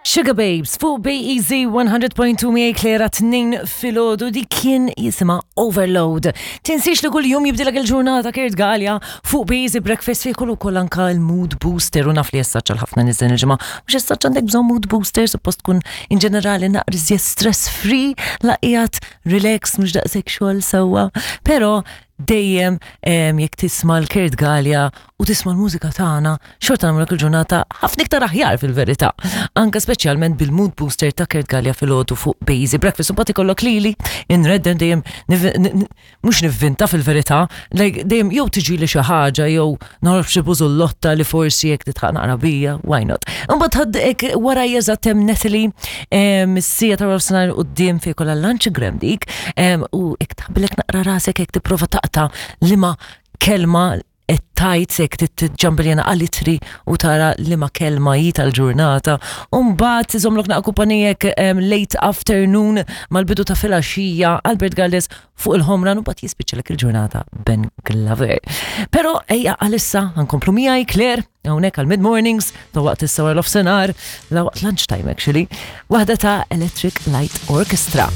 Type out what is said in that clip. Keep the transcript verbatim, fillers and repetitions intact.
Sugar Babes fuq B E Z one hundred point two miegħi Claire tnejn filgħodu, di kien jisimha Overload. Tinsiex li kull jum jibdilek il-ġurnata Kurt Galea fuq B E Z Breakfast, fi kollu koll anka il-mood booster, u naf li jessaċ għal ħafna nies din il-ġimgħa. Mhux jessaċ għandek bżonn mood booster, suppost tkun in ġenerali naqra stress free, laqijat relax, mhux daqshekk xogħol sewwa. Però dejjem jekk tisma' l-Kurt Galea u tisma' l-mużika tagħna, xorta nagħmlu il-ġurnata ħafna iktar aħjar fil-verità. Anka speċjalment bil-mood booster ta' Kurt Galea filgħodu fuq B E Z Breakfast. U mbagħad ikollok lili inredden dejjem, mhux nivvinta fil-verità, like dejjem jew tiġi li xi ħaġa jew nagħraf xi bużullotta li forsi jekk titħaq naqra bija, why not? Imbagħad ħadd wara jeżatt hemm Natalie mis-siegħa ta' nofsinhar quddiem fejn kollha lunchgram dik, u jekk tħabbilek naqra rasek, jekk tipprova taqta' liema kelma qed tajt, jekk tiġġambiljana għal-litri u tara liema kelma hi tal-ġurnata. Umbagħad iżomlok naqra kumpanijek late afternoon mal-bidu ta' filgħaxija Albert Galdes fuq il-Ħomra, u mbagħad jispiċċalek il-ġurnata Ben Glover. Però ejja, għalissa nkomplu miegħi Claire hawnhekk għal mid-mornings ta' waqt is-sawar of senar la waqt lunchtime actually, waħda ta' Electric Light Orchestra.